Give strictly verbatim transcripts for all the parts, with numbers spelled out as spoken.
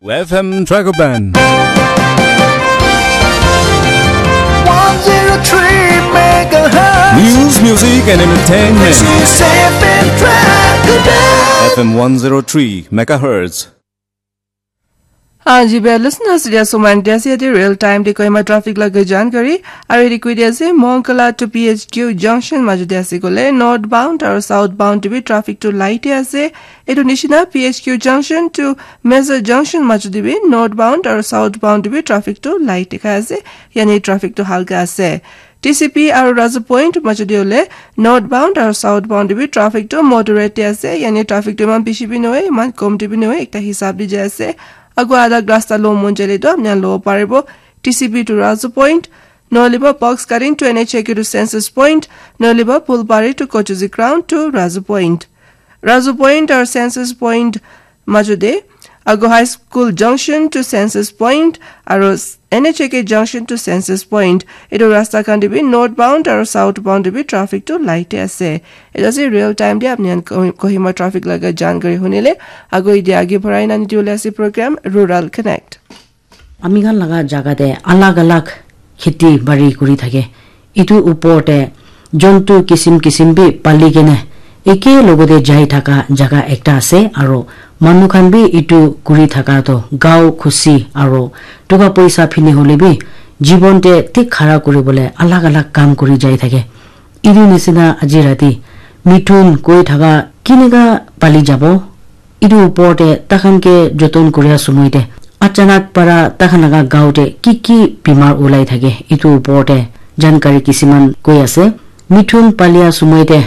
F M Dragoban. one zero three megahertz. News, music, and entertainment. This is F M Dragoban. F M one zero three megahertz. Haan ji, bhai listeners, dia suman dia se real time de Kohima traffic laga jankari. Aru yate koi dia ase, Monkala to P H Q junction majo de ase kole, northbound aru southbound de bi traffic to light e ase. Etu nishina P H Q junction to Meza junction majo de bi northbound aru southbound de bi traffic to light dikha ase. Yani traffic to halka ase. T C P aru Razu Point majo de hole northbound aru southbound de bi traffic to moderate de ase. Yani traffic to iman bishi bi nohoi, iman kom de bi nohoi, ekta hisab de jai ase. Agu alag rasta lo mon jale to apni khan lo paribo. T C P to Razu Point, nohole ba box cutting to N H A K to Census Point, nohole ba Phulbari to Kochuzi Ground to Razu Point. Razu Point aru Census Point majo de, agu High School Junction to Census Point, aru N H A K Junction to Census Point. Etu rasta khan de bi northbound aru southbound de bi traffic to light e ase. Etu ase real time de apni khan Ko- Kohima traffic laga jankari hunile, agu ide age barai na nidi ase program Rural Connect. Ami khan laga jaga te alag alag kheti bari kuri thake. Etu upor te jontu kisim kisim bi pali kene eke logote jai thaka jaga ekta ase, aro manu khan bi etu kuri thaka toh gao khushi aro toka poisa phine hole bi jibon te thik khara kuribole alag alag kam kuri jai thake. Etu nisina aji rati mithun koi thaka kinika pali jabo. Etu upor te takhan ke joton kuria sumoi te achanak para takhan laga gao te ki ki bimar ulai thake, etu upor te jankari kisiman koi ase. Mithun palia sumoi te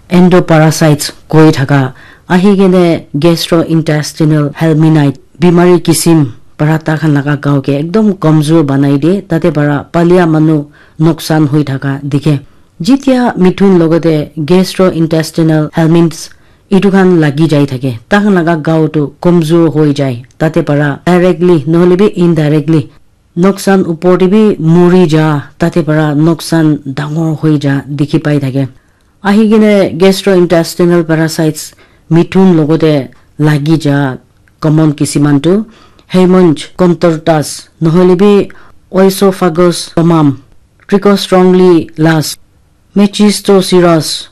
endoparasites koi thaka ahi kene gastrointestinal helminth bimari kisim para takhan laga gao ke ekdom komjor banai de, tate para palia manu noksan hoi thaka dikhe. Jitia mithun logote gastrointestinal helminths etu khan lagi jai thake, takhan laga gao tu komjor hoi jai, tate para directly nohole bi indirectly noksan upor te bi muri ja, tate para noksan dangor hoi ja dikhi pai thake. Ahi kene gastrointestinal parasites mithun logote lagi ja common kisiman tu Haymonch contortus nohole bi oesophagus tomam, Trichostrongylus, Machistoceros,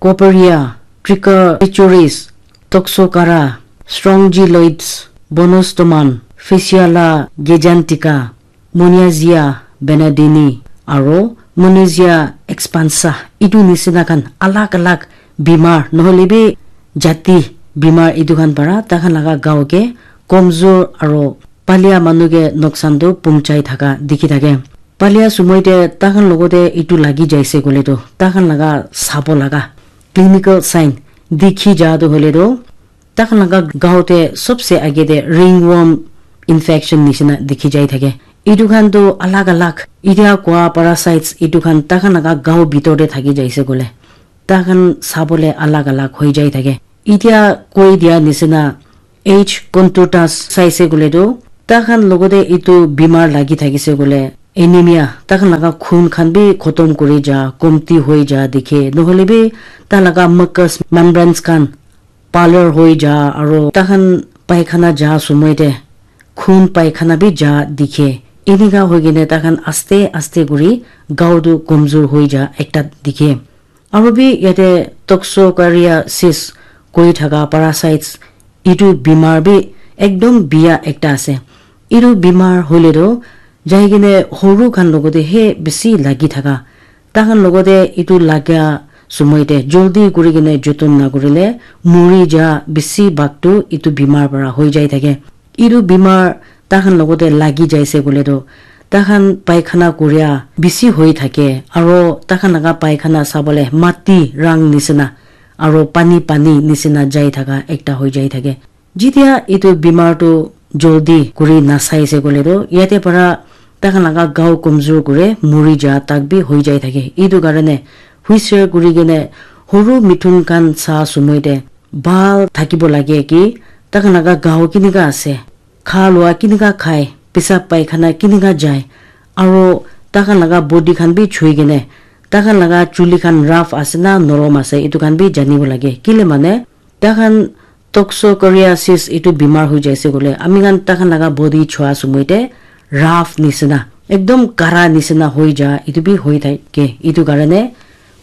Coperia, Trichophyllus, Toxocara, Strongyloides, Bonostomum, Physalia gigantica, Monazea benedinii, aro Monazea expansa. Etu nisina khan alag alag bimar nohole bi jati bimar etu khan para takhan laga gao ke komjor aro palia manu ke noksan tu pungchai thaka dikhi thake. Palia sumoi te takhan logote etu lagi jaise koile tu takhan laga sabo laga clinical sign dikhi ja tu hoile tu takhan laga gao te sobse age te ringworm infection nisina dikhi jai thake. Etu khan tu alag alag etia koa parasites etu khan takhan laga gao bitor te thaki jaise koile takhan sabole alag alag hoi jai thake. Etia koi dia nisina H. contortus saise koile tu takhan logote etu bimar lagi thakise koile anemia, takhan laga khun khan bi khotom kuri ja, komti hoi ja dikhe, nohole bi ta laga mucous membranes khan pallor hoi ja, aro takhan paikhana ja sumoi te khun paikhana bi ja dikhe. Enika hoi kene takhan aste aste kuri gao tu komjor hoi ja ekta dikhe. Aro bi yate toxocariasis koi thaka parasites etu bimar bi ekdom biya ekta ase. Etu bimar hoile tu jai kene horu khan logote he bisi lagi thaka. Takhan logote etu laga sumoi te joldi kuri kene joton na kurile muri ja bisi bhag tu etu bimar para hoi jai thake. Etu bimar takhan logote lagi jaise koile tu takhan paikhana kuria bisi hoi thake, aro takhan laga paikhana sabole mati rang nisina aro pani pani nisina jai thaka ekta hoi jai thake. Jitia etu bimar tu joldi kuri nasaise koile tu yate para takhan laga gao komjor kure, muri ja tak bi hoi jai thake. Etu karone huisher kuri kene horu mithun khan sa sumoi te bhal thakibo lage ki takhan laga gao kinika ase, kha lua kinika khai, pesab paikhana kinika jai, aro takhan laga body khan bi chui kene takhan laga chuli khan rough ase na norom ase etu khan bi janibo lage. Kile mane takhan Toxocariasis itu bimar hoi jaise koile ami khan takhan laga body chua sumoi te rough nisina ekdom kara nisina hoi ja itu bi hoi thake. Itu karone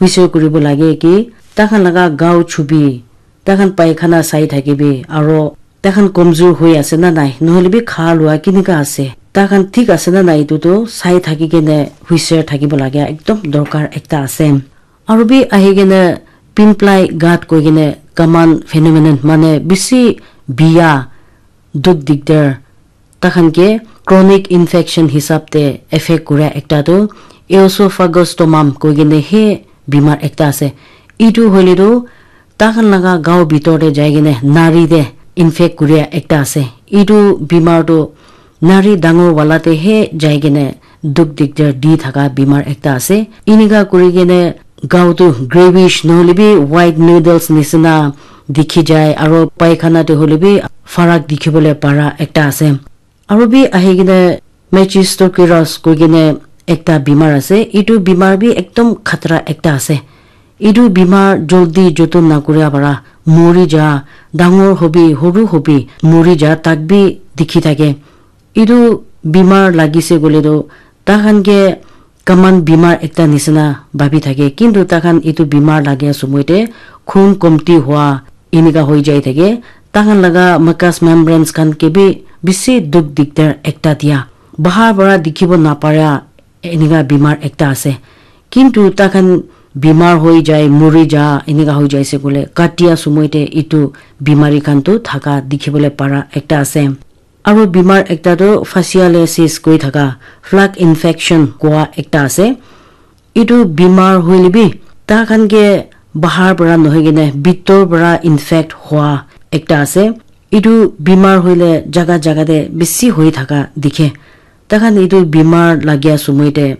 huisir kuribo lage ki takhan laga gao chubi, takhan paikhana sai thakibi aro takhan komjur hoi ase na nai, nohole bi kha lua kinika ase, takhan thik ase na nai, itu tu sai thaki kene huisir thakibo lage ekdom dorkar ekta ase. Aro bi ahi kene pimply gut koi kene common phenomenon mane bisi biya duk dikdar takhan ke chronic infection hisab te affect kura ekta tu eosophagus tomam koi kene he bimar ekta ase. Itu hoile tu takhan laga gao bitor te jai kene nari te infect kuria ekta ase. Itu bimar tu nari dangor wala te he jai kene duk dikdar di thaka bimar ekta ase. Inika kuri kene gao tu greyish nohole bi white noodles nisina dikhi jai aro paikhana te hoile bi farak dikhibole para ekta ase. Aro bi ahi kene Mechistoceros koi kene ekta bimar ase. Itu bimar bi ekdom khatra ekta ase. Itu bimar joldi joton nakuria para mori ja, dangor hobi, horu hobi mori ja tak bi dikhi thake. Itu bimar lagise koile tu takhan ke common bimar ekta nisina bhabi thake, kintu takhan itu bimar lagia sumoi te khun komti hua inika hoi jai thake. Takhan laga mucous membranes khan ke bi bisi duk dikdar ekta dia, bahar para dikhibo naparia inika bimar ekta ase. Kintu takhan bimar hoi jai, mori ja inika hoi jaise koile katia sumoi te itu bimari khan tu thaka dikhibole para ekta ase. Aro bimar ekta tu fasciitis koi thaka, flag infection kua ekta ase. Itu bimar hoile bi takhan ke bahar para nohoi kene bitor para infect hua ekta ase. Itu bimar hoile jaga jaga te bisi hoi thaka dikhe. Takhan itu bimar lagia sumoi te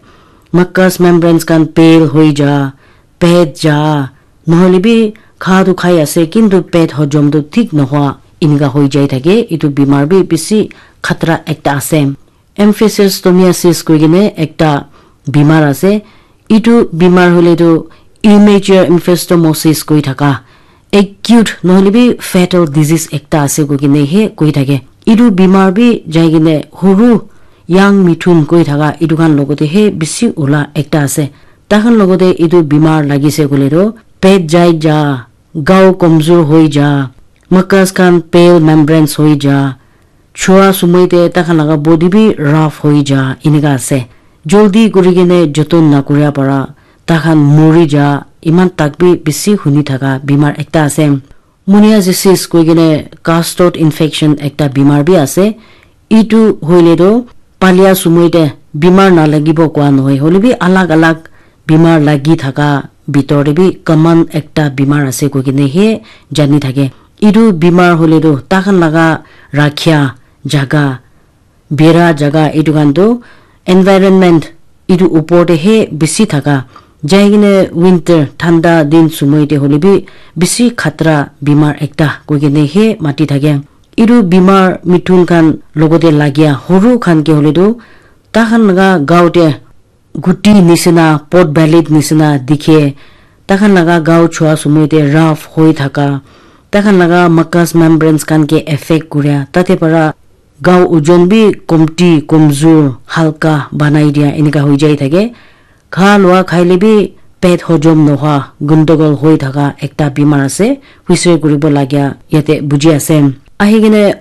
mucous membranes khan pale hoi ja, pet ja, nohole bi kha tu khai ase kintu pet hojom tu thik nohua inika hoi jai thake. Itu bimar bi bisi khatra ekta ase. Emphysestomiasis koi kene ekta bimar ase. Itu bimar hoile tu immature emphysestomosis koi thaka, acute nohole bi fatal disease ekta ase koi kene he koi thake. Itu bimar bi jai kene horu young mithun koi thaka itu khan logote he bisi ula ekta ase. Takhan logote itu bimar lagise koile tu pet jai ja, gao komjor hoi ja, mucous khan pale membranes hoi ja, chua sumoi te takhan laga body bi rough hoi ja inika ase. Joldi kuri kene joton nakuria para takhan mori ja, iman tak bi bisi huni thaka bimar ekta ase. Moniasis koi kene castod infection ekta bimar bi ase. Itu hoile tu palia sumoi te bimar nalagibo kua nohoi, hoile bi alag alag bimar lagi thaka bitor te bi common ekta bimar ase koi kene he jani thake. Itu bimar hoile tu takhan laga rakhia jaga, bera jaga itu khan tu environment itu upor te he bisi thaka. Jai kene winter thanda din sumoi te hoile bi bisi khatra bimar ekta koi kene he mati thake. Itu bimar mithun khan logote lagia horu khan ke hoile tu takhan laga gao te guti nisina, pot belly nisina dikhe, takhan laga gao chua sumoi te rough hoi thaka, takhan laga mucous membranes khan ke affect kuria, tate para gao ojon bi komti, komjor, halka banai dia, enika hoi jai thake. Kha lua khaile bi pet hojom nohwa, gundogol hoi thaka ekta bimar ase, huisir kuribo lagia yate buji ase. Ahi kene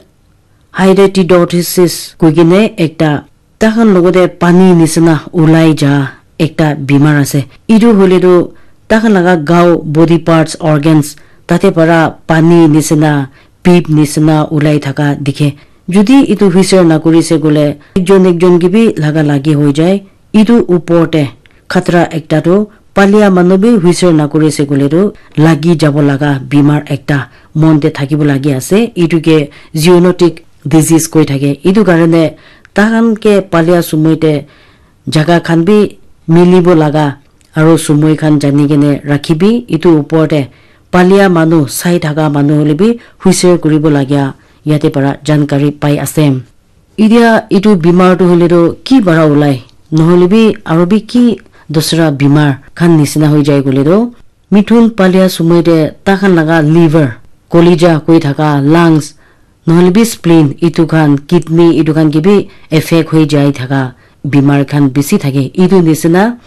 hydatidosis koi kene ekta takhan logote pani nisina ulai ja ekta bimar ase. Itu hoile tu takhan laga gao, body parts, organs, tate para pani nisina, pip nisina ulai thaka dikhe. Jodi itu huisir nakuri se koile ekjon ekjon ke bi laga lagi hoi jai. Itu upor te khatra ekta tu palia manu bi huisir nakuri se koile tu lagi jabo laga bimar ekta mon te thakibo lagi ase. Itu ke zoonotic disease koi thake. Itu karone takhan ke palia sumoi te jaga khan bi milibo laga aro sumoi khan jani kene rakhibi. Itu upor te palia manu, sai thaka manu hoile bi huisir kuribo lagia yate para jankari pai ase. Itya itu bimar tu hoile tu ki para ulai, nohole bi aro bi ki dusra bimar khan nisina hoi jai koile tu, mithun palia sumoi te takhan laga liver, Kolija koi thaka, lungs, nohole bi spleen, itu khan, kidney, itu khan ke bi affect hoi jai thaka bimar khan bishi thake. Itu nisina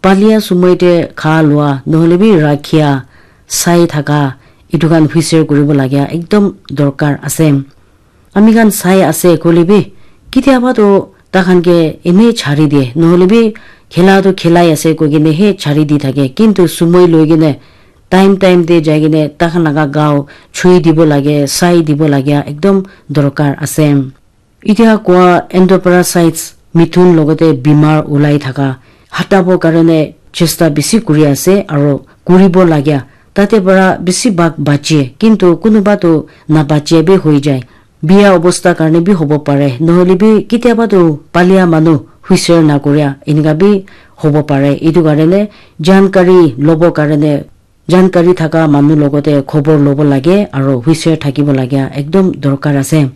palia sumoi te kha lua, nohole bi rakhia, sai thaka, itu khan huisir kuribo lagia ekdom dorkar ase. Ami khan sai ase koile bi, kitiaba toh takhan ke ene chari diye, nohole bi khela toh khelai ase koi kene he chari di thake. Kintu sumoi loi kene, time time te jai kene takhan laga gao chui dibo lage, sai dibo lage, ekdom dorkar ase. Itya koa endoparasites, mithun logote bimar ulai thaka, hatabo karone chesta bishi kuri ase aro kuribo lagya. Tate para bishi bhag bache, kintu kunuba toh nabache bi hoi jai. Biya obosta karone bi hobo pare, nohole bi kitiaba toh palia manu huisir nakuria enika bi hobo pare. Itu karone jankari lobo karone jankari thaka manu logote khobor lobo lage aro huisir thakibo lage ekdom dorkar ase.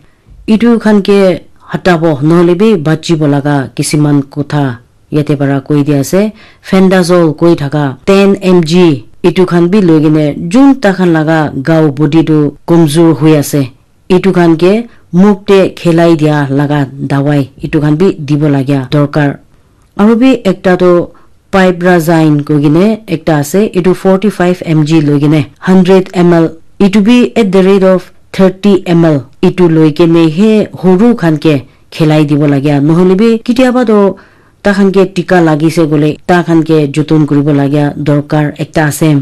Itu khan ke hatabo nohole bi bachibo laga kisiman kotha yate para koi di ase. Fendazole koi thaka ten M G itu khan bi loi kene jun takhan laga gao body tu komzur hui ase. Itu khan ke muk te khelai dia laga dawai itu khan bi dibo lagia dorkar. Aru bi ekta toh pyrazine koi kene ekta ase, itu forty five M G loi kene hundred M L, itu bi at the rate of thirty M L, itu loi kene he horu khan ke khelai dibo lagia, nohole bi kitiaba toh takhan ke tika lagise koile takhan ke joton kuribo lagia dorkar ekta ase.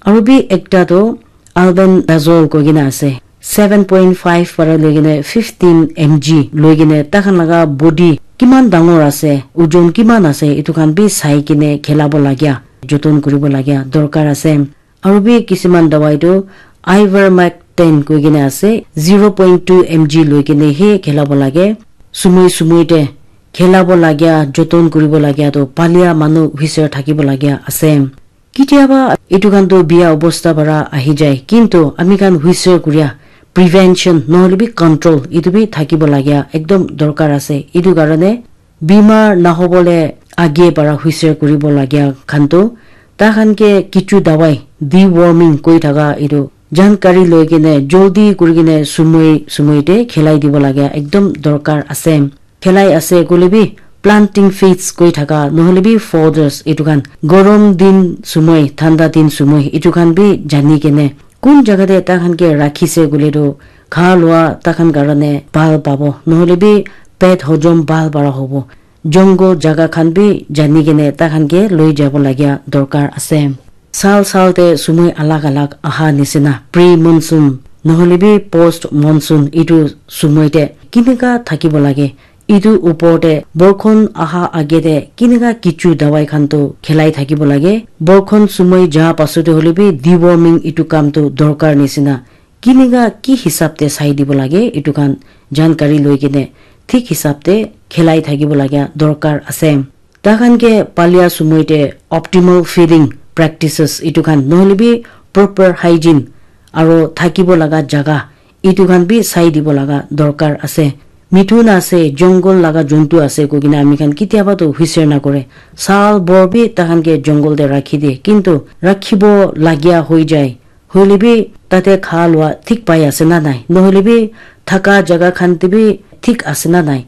Aru bi ekta toh albendazole koi kene ase, seven point five para loi kene fifteen M G loi kene takhan laga body kiman dangor ase, ojon kiman ase, itu khan bi sai kene khelabo lagia, joton kuribo lagia dorkar ase. Aru bi kisiman dawai toh ivermectin koi kene ase, zero point two M G loi kene he khelabo lage. Sumoi sumoi te khelabo lagia, joton kuribo lagia toh palia manu huisir thakibo lagia ase. Kitiaba itu khan toh biya obosta para ahi jai, kintu ami khan huisir kuria prevention nohole bi control itu bi thakibo lagia ekdom dorkar ase. Itu karone bimar nahobole age para huisir kuribo lagia khan toh takhan ke kichu dawai, deworming koi thaka itu jankari loi kene joldi kuri kene sumoi sumoi te khelai dibo lagia ekdom dorkar ase. Khelai ase koile bi planting feeds koi thaka nohole bi fodders itu khan gorom din sumoi, thanda din sumoi itu khan bi jani kene kun jaga te takhan ke rakhise koile toh kha lua takhan karone bhal pabo, nohole bi pet hojom bhal para hobo. Jungle jaga khan bi jani kene takhan ke loi jabo lagia dorkar ase. Sal sal te sumoi alag alag aha nisina, pre monsoon nohole bi post monsoon itu sumoi te kinika thakibo lage, itu upor te borkhon aha age te kinika kichu dawai khan toh khelai thakibo lage. Borkhon sumoi ja pasute hole bi deworming itu kam toh dorkar nisina. Kinika ki hisab te sai dibo lage, itu khan jankari loi kene thik hisab te khelai thakibo lagia dorkar ase. Takhan ke palia sumoi te optimal feeding practices itu khan nohole bi proper hygiene aro thakibo laga jaga itu khan bi sai dibo laga dorkar ase. Mithun ase, jungle laga jontu ase koi kene ami khan kitiaba toh huisir nakore. Sal bor bi takhan ke jungle te rakhi de, kintu rakhibo lagia hoi jai. Hoile bi tate kha lua thik pai ase na nai, nohole bi thaka jaga khan te bi thik ase na nai,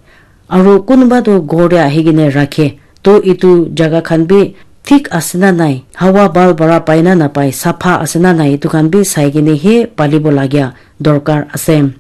aro kunuba toh ghor te ahi kene rakhe toh itu jaga khan bi thik ase na nai, hawa bhal para pai na napai, sapha ase na nai, itu khan bi sai kene he palibo lagia dorkar ase.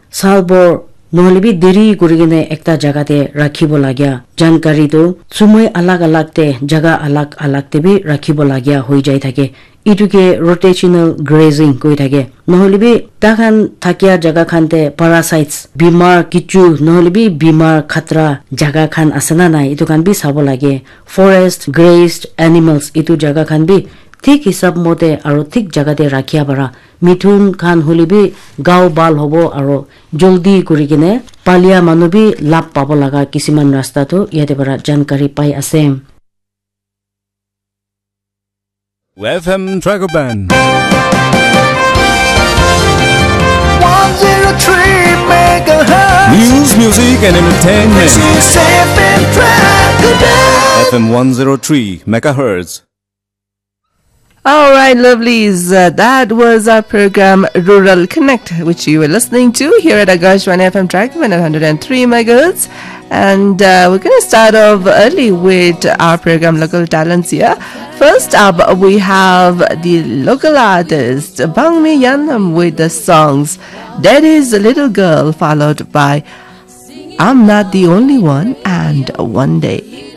Salbor nohole bi deri kuri kene ekta jaga te rakhibo lagia jankari tu sumoi alag alag te jaga alag alag te bi rakhibo lagia hoi jai thake. Itu ke rotational grazing koi thake. Nohole bi takhan thakia jaga khan te parasites, bimar kichu nohole bi bimar khatra jaga khan ase na nai, itu khan bi sabo lage. Forest grazed animals itu jaga khan bi thik hisab mote aro thik jaga te rakhia para. Mithun khan hole bi gao bhal hobo aro joldi kuri kene palia manu bi lab pabo laga kisiman rasta tu yate para jankari pai ase. F M Dragon Band. One zero three megahertz. News, music, and entertainment. This is F M Dragon Band. F M one zero three megahertz. All right, lovelies. Uh, that was our program Rural Connect, which you were listening to here at Akashvani F M Track one hundred and three megahertz. And uh, we're going to start off early with our program Local Talents here. First up, we have the local artist Bangmi Yanam with the songs Daddy's Little Girl, followed by I'm Not the Only One and One Day.